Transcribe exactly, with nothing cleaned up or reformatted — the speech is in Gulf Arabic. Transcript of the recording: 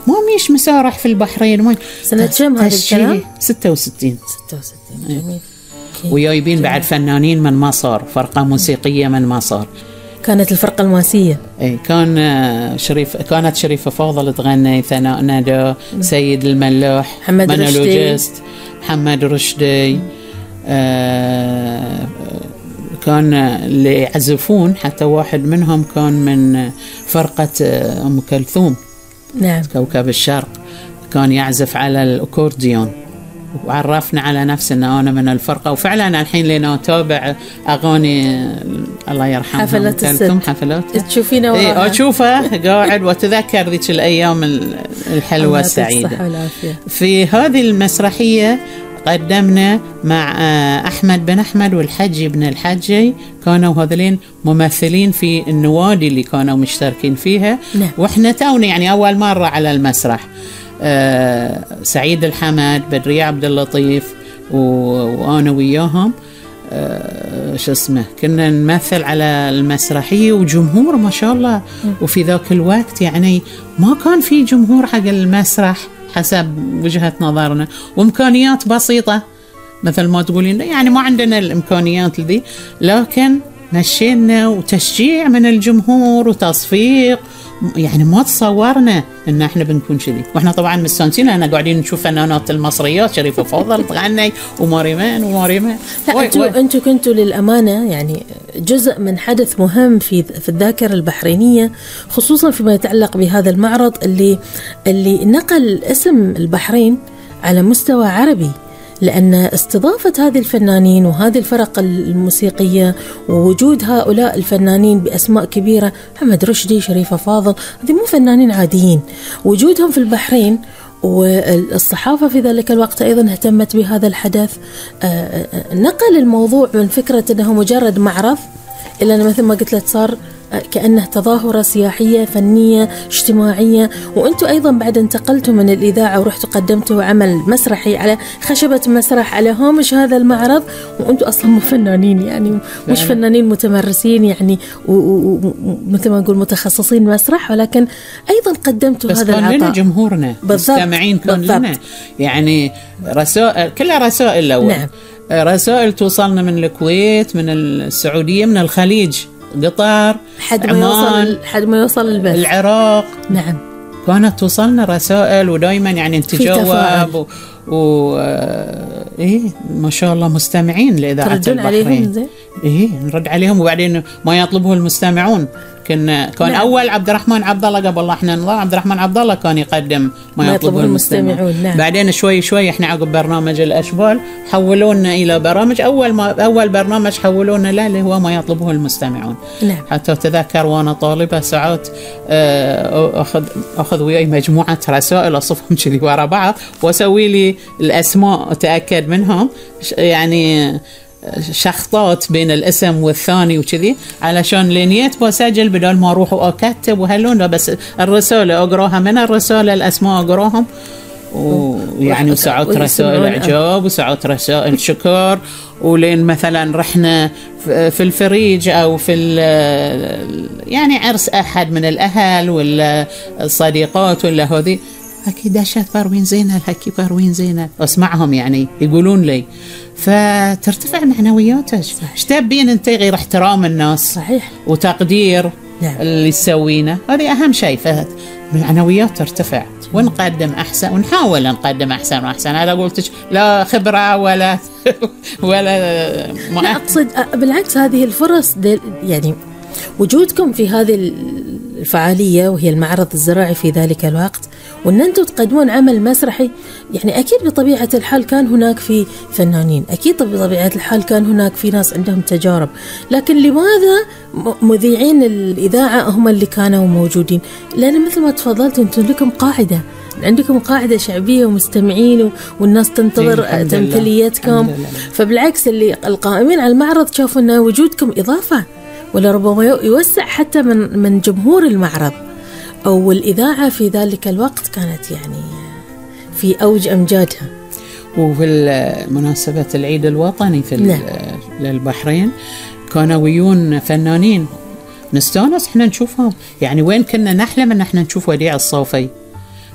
ما ميش مسارح في البحرين. ما سنة كم هذا الكلام؟ ستة وستين. ستة وستين. جميل. ويايبين بعد فنانين من مصر، فرقة موسيقية من مصر. كانت الفرقة الماسية. اي كان شريف، كانت شريفة فاضل تغني، ثناء ندى، سيد الملاح، محمد رشدي، محمد رشدي. آه كان اللي يعزفون حتى واحد منهم كان من فرقة أم كلثوم. نعم. كوكب الشرق، كان يعزف على الأكورديون، وعرفنا على نفسنا أنا من الفرقة. وفعلا الحين لنا أتابع أغاني الله يرحمها حفلات كلثوم، حفلات تشوفينه إيه أشوفه قاعد وتذكر ذيك الأيام الحلوة السعيدة. في هذه المسرحية قدمنا مع أحمد بن أحمد والحجي بن الحجي، كانوا هذلين ممثلين في النوادي اللي كانوا مشتركين فيها. نعم. وإحنا تونا يعني أول مرة على المسرح. أه سعيد الحمد، بدرية عبد اللطيف، وأنا وياهم أه شو اسمه كنا نمثل على المسرحية، وجمهور ما شاء الله. وفي ذاك الوقت يعني ما كان في جمهور حق المسرح حسب وجهة نظرنا، وإمكانيات بسيطة مثل ما تقولين، يعني ما عندنا الإمكانيات ذي، لكن مشينا وتشجيع من الجمهور وتصفيق. يعني ما تصورنا ان احنا بنكون كذي، واحنا طبعا مستانسين لان قاعدين نشوف فنانات المصريات شريفة فاضل تغني وماريمان وماريمان. لا انتوا انتوا كنتوا للامانه يعني جزء من حدث مهم في في الذاكره البحرينيه، خصوصا فيما يتعلق بهذا المعرض اللي اللي نقل اسم البحرين على مستوى عربي، لأن استضافة هذه الفنانين وهذه الفرق الموسيقية ووجود هؤلاء الفنانين بأسماء كبيرة، محمد رشدي، شريفة فاضل، هذه مو فنانين عاديين، وجودهم في البحرين. والصحافة في ذلك الوقت أيضا اهتمت بهذا الحدث، نقل الموضوع من فكرة أنه مجرد معرض إلا أنه مثل ما قلت لك صار كأنه تظاهرة سياحية فنية اجتماعية. وأنتوا أيضا بعد انتقلتوا من الإذاعة ورحتوا قدمتوا عمل مسرحي على خشبة مسرح على هامش هذا المعرض، وأنتوا أصلا مو فنانين يعني مش فنانين متمرسين يعني ومثل ما نقول متخصصين مسرح، ولكن أيضا قدمتوا هذا العطاء. بس كان لنا جمهورنا مستمعين، كان لنا يعني رسائل، كلها رسائل لو نعم. رسائل توصلنا من الكويت، من السعودية، من الخليج، قطر، حد ما يوصل حد ما يوصل البث، العراق. نعم كانت توصلنا رسائل، ودائما يعني نتجاوب و... و... ايه ما شاء الله مستمعين لإذاعة البحرين. عليهم زي؟ ايه نرد عليهم، وبعدين ما يطلبه المستمعون. كان كان نعم. اول عبد الرحمن عبد الله قبل الله احنا نضاع عبد الرحمن عبد الله كان يقدم ما, ما يطلبه المستمعون. نعم. بعدين شوي شوي احنا عقب برنامج الاشبال حولونا الى برامج، اول ما اول برنامج حولونا له اللي هو ما يطلبه المستمعون. نعم. حتى تذكر وانا طالبه ساعات اخذ اخذ وياي مجموعه رسائل اصفهم كذي ورا بعض واسوي لي الاسماء اتاكد منهم، يعني شخطات بين الاسم والثاني وكذي، علشان لنيت بسجل بدل ما اروح واكتب وهلون، بس الرساله اقراها من الرساله، الاسماء اقراهم، ويعني وساعات رسائل اعجاب وساعات رسائل شكر. ولين مثلا رحنا في الفريج او في يعني عرس احد من الاهل ولا الصديقات ولا هذي، هكي داشت باروين زينة، هكي باروين زينة، اسمعهم يعني يقولون لي، فترتفع معنوياتك. ايش تبين انت غير احترام الناس؟ صحيح. وتقدير نعم. اللي تسوينه، هذه اهم شيء، فالمعنويات ترتفع ونقدم احسن ونحاول نقدم احسن واحسن. هذا قلت لا خبره ولا ولا ما لا اقصد بالعكس، هذه الفرص يعني وجودكم في هذه الفعالية وهي المعرض الزراعي في ذلك الوقت، وأن أنتم تقدمون عمل مسرحي، يعني أكيد بطبيعة الحال كان هناك في فنانين، أكيد بطبيعة الحال كان هناك في ناس عندهم تجارب، لكن لماذا مذيعين الإذاعة هم اللي كانوا موجودين؟ لأن مثل ما تفضلت أنتم لكم قاعدة، عندكم قاعدة شعبية ومستمعين والناس تنتظر تمثيليتكم، فبالعكس اللي القائمين على المعرض شافوا أن وجودكم إضافة، ولا ربما يوسع حتى من من جمهور المعرض. أو الإذاعة في ذلك الوقت كانت يعني في أوج أمجادها. وفي مناسبة العيد الوطني في نعم. للبحرين كانوا ويون فنانين نستانس احنا نشوفهم، يعني وين كنا نحلم ان احنا نشوف وديع الصوفي